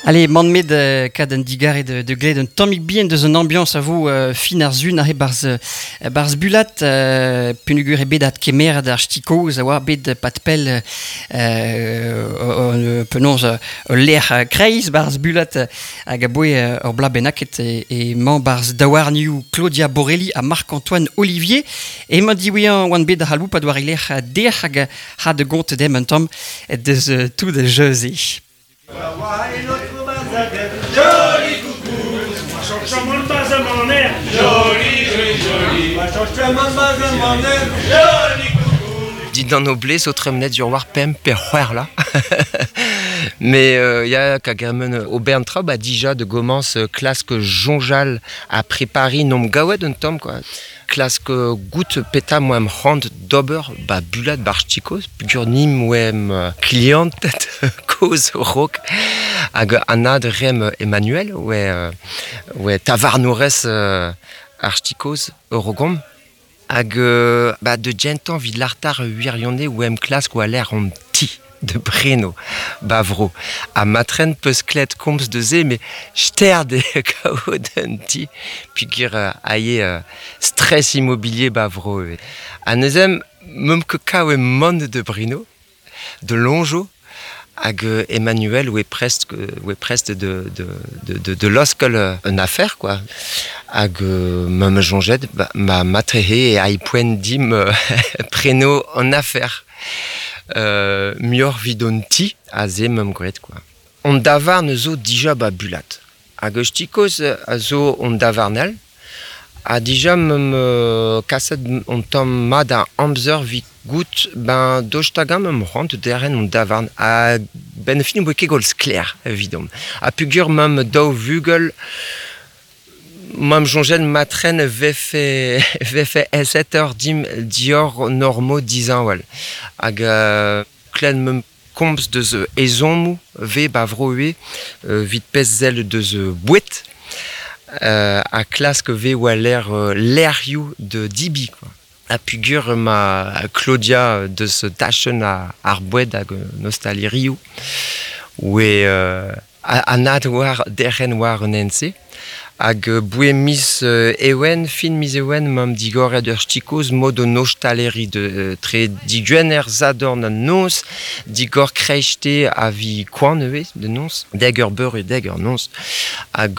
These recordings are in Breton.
Allez, man met kad un digare de, de gled un tammig bien deus un ambiance a vo fin ar zun ahe barz, barz bulat punugur e bet at kemer d'ar ch'tikoz a oa bet pat pell penaos ul lec'h kreiz barz bulat hag a boe ur bla bennaket e, e mañ barz daouarnioù Claudia Borelli ha Marc-Antoine Olivier. Emañ diwezhañ oan bet da c'haloupat war e lec'h dec'h hag ha de gont dem un tamm deus tout da jeu-se. Dindan o blez o tremenet sur war pemp pe c'hwec'h là. Mais ya kagermen ober an traoù ba dija de gomañs klask soñjal ha prepariñ n'omp gaouet un tamm quoi. Klask goût petra moemp c'hoant d'ober ba bulat bar chikoz peogwir ni moemp klianted kozh raok hag anad reemp Emmanuel oe oe tavarnourez ar chikoz Eurogom hag ba de gentañ 'vit lartar wirionez oemp klask war-lerc'h hon ti. de Breno ba vro ha matren peus klet komz deus se met sterd eo kaout un ti peogwir aie stress immobilier ba vro ivez. Ha neuze meump ket kavet mont de Brino de Longeau hag Emmanuel oe prest oe prest de de de de laoskel un affaire quoi hag ma soñjet ma matrehe e ai poent dimp preno an affaire. Muioc'h 'vit hon ti aze 'meump graet kwa. Hon davarn zo dija 'ba Bulat. Hag eus ti kozh a zo hon davarn all. Ha dija 'meump kaset hon tamm mat a amzer 'vit goût ben daoust hag-eñ 'meump c'hoant derc'hen hon davarn. Ha 'benn ar fin ne voe ket gwall sklaer evidomp. Ha peogwir 'meump daou vugel M'am soñjet matren vefe vefe aesetoc'h dimp diorren normoù disheñvel hag klevet 'meump komz deus ezhommoù 'vez 'ba vro ivez evit pezh sell deus boued ha klask 'vez war-lerc'h lec'hioù da debriñ kwa. Ha peogwir emañ Claudia deus tachenn ar boued hag an ostalerioù oe anat war derc'hen war an hent-se. Hag boe miz Ewen, fin miz Ewen, 'mamp digoret ur ch'ti-kozh mod an ostaleri tre digwener, sadorn ha noz, digor kreisteiz ha vi koan ivez da noz, dek eur beure, dek eur noz. Hag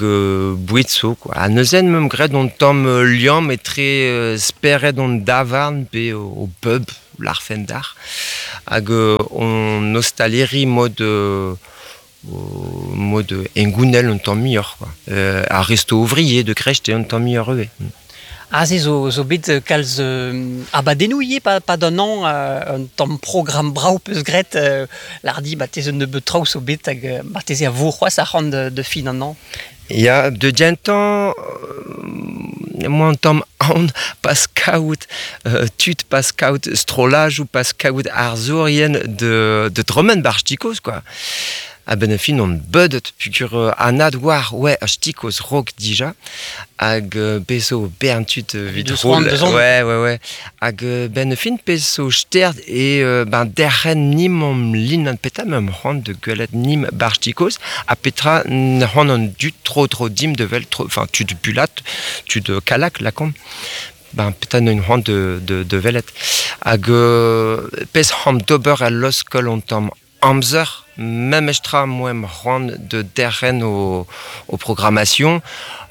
boued zo quoi. Ha neuze 'meump graet hon tamm liamm etre spered hon davarn pe o pub, lârfen dac'h, hag hon ostaleri mod mod hengounel un tamm muioc'h quoi. Ar resto ouvrier de Krecht eo un tamm muioc'h ivez. Aze zo, zo bet kalz abadennoù ivez pa, pa d'an hañv un tamm programm brav peus graet lardi ma tez un nebeud traoù zo bet hag marteze a vo c'hoazh arc'hant de fin an hañv. Ya, de gentañ emañ un tamm aon pas kaout tud, pas kaout strollajoù, pas kaout arzourien de, de tremen 'barzh Tikoz quoi. A-benn ar fin on beudet peogwir anat oar ouais ar Tikoz raok dija hag bez zo bern tud evit roll. Ouais, ouais, ouais. Hag benn ar fin pezh zo stert eo ben derc'hen nimp lin petra meump c'hoant da gwelet nimp 'barzh Tikoz ha petra c'hoant an dud tro-dro dimp da wel enfin tud Bulat, tud Kallag lakaomp ben petra neuint c'hoant de, de, de welet. Hag pezh c'hoant d'ober al laoskol on tamm amzer memestra moemp c'hoant de derc'hen o, o programmation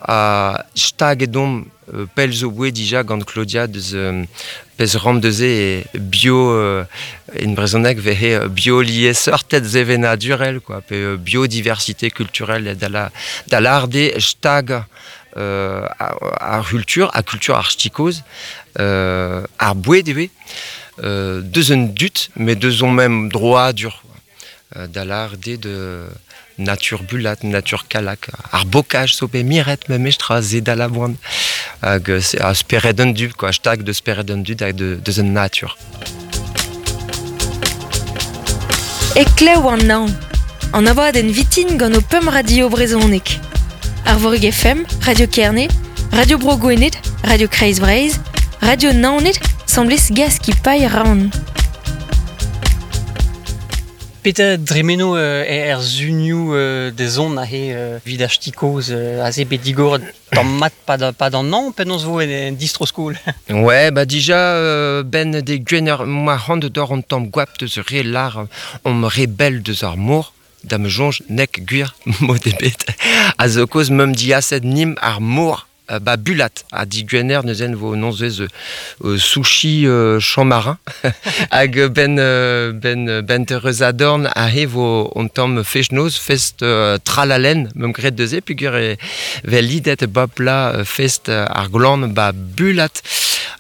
ha staget omp pell zo oe dija gant Claudia deus pezh ran deus e bio en brezhoneg vehe bioliesseurted sevenadurel quoi pe biodiversité culturelle da la da lâret eo stagañ ar c'hultur ha kultur ar ch'tikoz ar boued ivez deus an dud met deus hon mem droadur da lâret eo de natur bulat, natur kalak, ar bokaj zo bet miret memestra se da laboan hag ar spered an dud quoi, stag deus spered an dud hag deus an natur. Heklev an naon. An abadenn vitin gant ho pemp radio brezhonek. Arvorig FM, Radio Kerne, Radio Bro Gwened, Radio Kreiz Breizh, Radio Naoned, semblez Gaskipailh Raon. Peter dremeno er zunioù de zon a he vid ar ch'tikoz aze bet digor tamm mat pa d'an an penaos vo en distro-skol. Ouais, bah dija ben de gwener ma c'hoant d'or an tamm gwap deus re lar om re bell deus ar mor da me jonj nek gwir mod ebet a zo koz meum diaset nim ar mor ba bulat a di gwener neuzen vo nonzez sushi champ marin hag ben ben ben tereus adorn a he vo on tamm fest-noz fest tralalen meum gret deuze pugur e vel lidet bap la fest ar glan ba bulat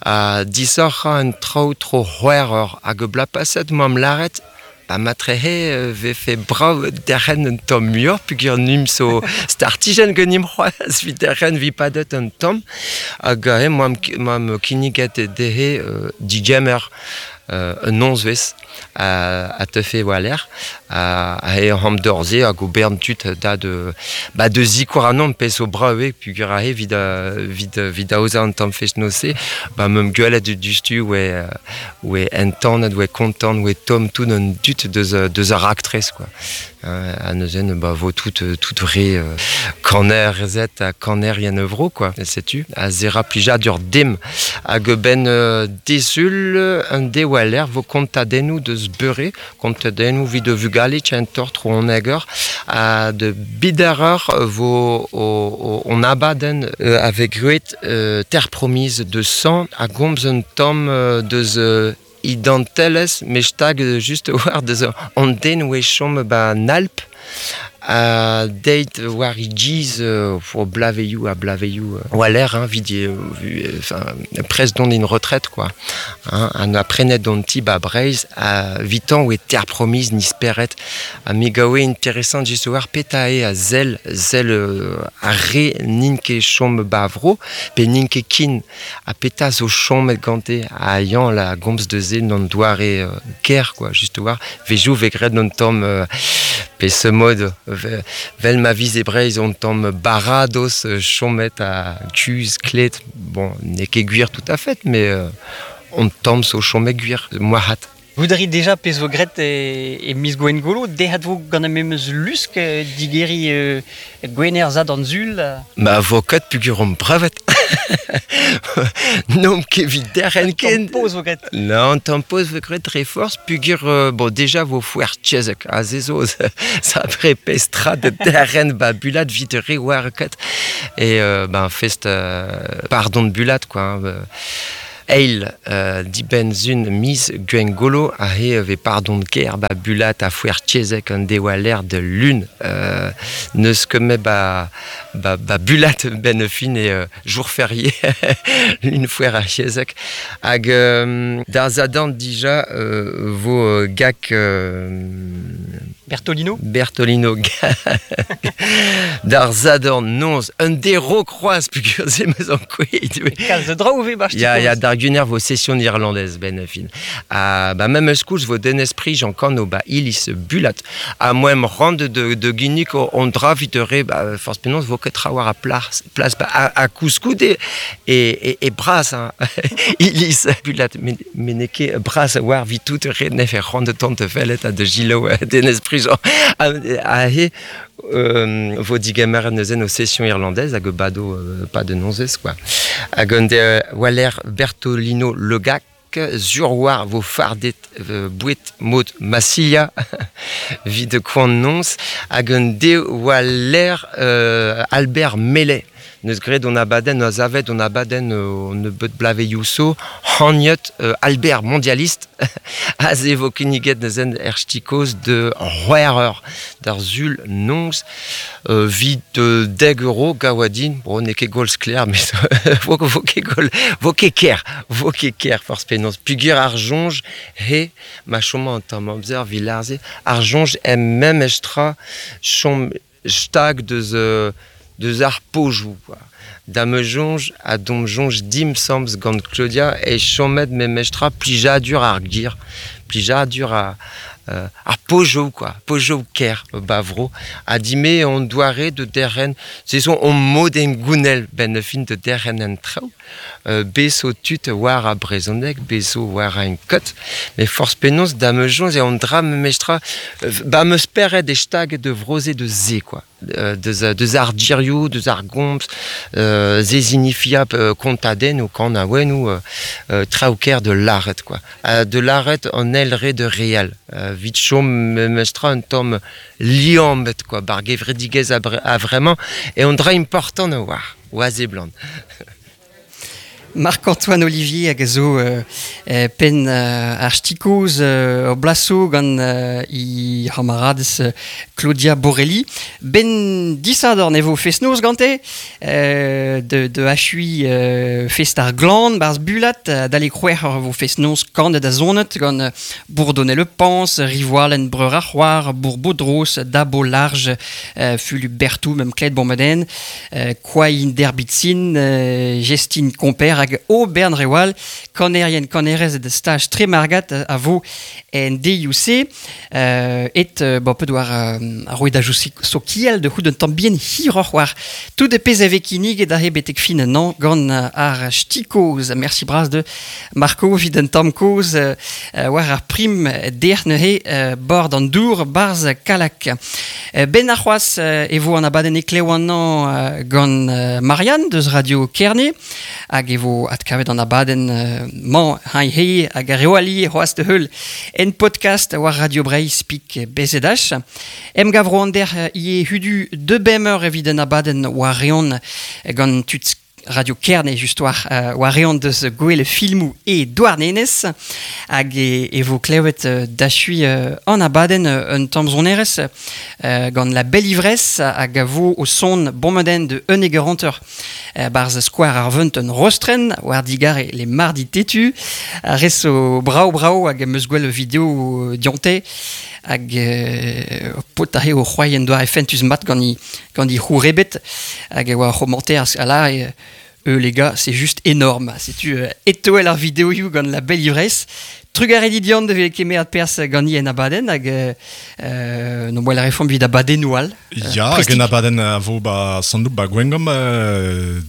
a disoc'h an traoù tro c'hwec'h hag bla paset m'am laret ba matrehe vefe brav derc'hen un tamm muioc'h pugur nim so startijenn ganim c'hoazh vit derc'hen vi padet un tamm hag he moam kinniget dezhe digemer un nozvezh a teufe war-lerc'h a he am dorze hag o bern tud da de ba de zikour anon pezh zo brav eo pugur aze vit vit vit aozañ an tamm fest-noz-se ba meum gwelet diouzhtu oe entanet oe kontant oe tomm tout an dud deus ar raktres quoi. Ha neuzen ba vo tout tout re kanerezed ha kanerien vro quoi. Setu a zera plijadur dim hag ben desul un de war-lerc'h vo kontadennoù deus beure kontadennoù vid de vugale tient tro an eger ha de bidereur vo on abadenn avec gruet Terre promise de sang a gomz un tamm deus identelezh me stag just war deus an den oe chom ba an Alp a deit war e giz o blaveioù ha blaveioù war-lerc'h hein, vid enfin, prest dont in retraite quoi. Hein, an a prenet don ti ba Breizh a vitan oe Terre promise ni speret ha me gaoe intéressant just war peta eo a sell sell ar re n'int ket chom ba vro pe n'int ket kin ha peta zo chomet gante ha yañ la gomz deus se n'an doare ker quoi just war vezioù vez graet un tamm pe ce mod vel ma viz e Breizh on tamm baradoz chomet a kuzh klet bon n'eo ket gwir tout à fait mais on tamm zo chomet gwir moarvat. Goût déjà pezh vo graet e miz Gwengolo, dezhat vo gant ar memes lusk digeriñ Gwener zad an sul. Ma vo ket pugur omp brevet. N'omp ket evit derc'hen ken. Tamm poz vo graet. Non, tamm poz vo graet dre forzh pugur bon déjà vo foer tchezek aze zo sapre pezh tra de derc'hen ba bulat vit re war ket et ben fest pardon de bulat quoi hein, Eil dibenn-sun miz Gwengolo aze vez pardon ker ba Bulat ha foer tchezek an de war-lerc'h de lun n'eus ket met ba, ba, ba Bulat benn fin e jour férié lun foer ar chezek hag d'ar zadorn dija vo gak Bertolino Bertolino d'ar zadorn noz un dero kroaz pugur se meus ankouaet. Kalz draoù vez ba Ya, ya, d'ar gwener vo session irlandaise ben fin. Ha ba memes koulz vo Denez Prigent kano ba iliz Bulat. Ha moem rand de ginnig on dra vit re ba forzh penaos vo ket trawar a plas, plas ba a koulskoude e bras hein. Iliz Bulat me n'eo ket bras war vit tout re nef e rand tant fellet ha de gilo Denez Prigent. Ha he vo digemer neuzen o session irlandaise hag bado pas de nozez quoi. Hag an de war-lerc'h Bertolino Legac zur war vo fardet boued mod Massilia vid koan noz hag an de war-lerc'h Albert Mellet neus graet on abadenn a zavet on abadenn on nebeut blaveioù so haniet Albert mondialiste aze vo kinniget neuzen er ch'tikoz de c'hwec'h d'ar sul noz vid deg euro gaouadin bon n'eo ket gwall sklaer met vo vo ket gwall vo ket ker vo ket ker forzh penaos pugur ar soñj he ma chomañ an tamm amzer 'vit lâr-se ar soñj em memes tra chom stag deus deus ar pojoù quoi. Da ma soñj ha d'hom soñj dimp 'sambles gant Claudia e chomet memes tra plijadur ar gir plijadur Ar pojo quoi, pojo ker bavro a dime on doare de derren se son on moden gounel ben fin de derren en traoù beso tut war a brezhoneg beso war a en kot mais force penons da me jonz e on dra me mestra ba me speret de stag de vroze de ze quoi deus ar dirioù, deus ar gomz, ze zinifia kontaden ou kan a wen ou traouker de laret quoi. De laret an elre de real. Vit chom mestra un tom liambet quoi, bar gevredigez a vraiment et on dra important a war, oa ze blant. Marc-Antoine Olivier hag a zo pen ar stikoz ur blaso gant i c'hamarades Claudia Borelli. Ben disador ne vo fest-noz gante de achui fest ar glan barz bulat dale kroer ur vo fest-noz kandet a zonet gant Bourdonnais le Pans, Rivoalen breur ar c'hoar, Bourbaudros, Dabo Large, Fulu Bertou, mem Klet Bourmeden, Kwain Derbitzin, Gestine Comper hag o Bern Rewal, kanerien kanerez de stage Tremargat a vo en DUC, et bon, peut war ar roe da jou sokiel de c'hout un tamm bien hiroc'h war tout de pez ave kinnig da he betek fin nan gant ar stikoz. Merci bras de Marco vid un tamm koz war ar prim der neuze bord an dour barz kalak. Ben ar c'hoaz e vo an abadenn eklev an an gant Marianne deus Radio Kerne hag e vo adkavet an abadenn mañ hañ he hag ar reoali c'hoaz de heul en podcast war Radio Breizh pik BZH. Em gavro an der ie hudu de bemeur evit an abadenn war reon gant tud Radio Kerne just war war reon deus gwell filmou e douarnenez hag e vo klevet dachui an abadenn un tamm zonerez gant la belle ivresse hag a vo o son bommaden de un egeranteur barz square ar vent un rostren war digare les mardi tetu a res o brao brao hag em eus gwell video dionte hag pot a o c'hoaien doar e fentus mat gant i c'hourebet hag e oa commenter a la e les gars, c'est juste énorme. Setu etoel ar video ioù gant la belle ivresse. Trugarez dit dian de kemer ad pers gant i en abadenn hag no boa la reform vid abadennoù all. Ja, hag en abadenn a vo ba sandoù ba gwengom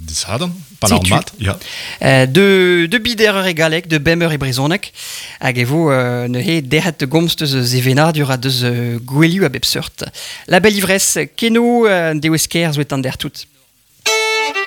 disadan, pa ar mat. Ja. De bider ur e galleg, de bemeur e brezhoneg, hag e vo neuze derc'het gomz deus zevenadur ha deus gwelioù a bep seurt. La belle ivresse, keno deus ker zo et an der tout.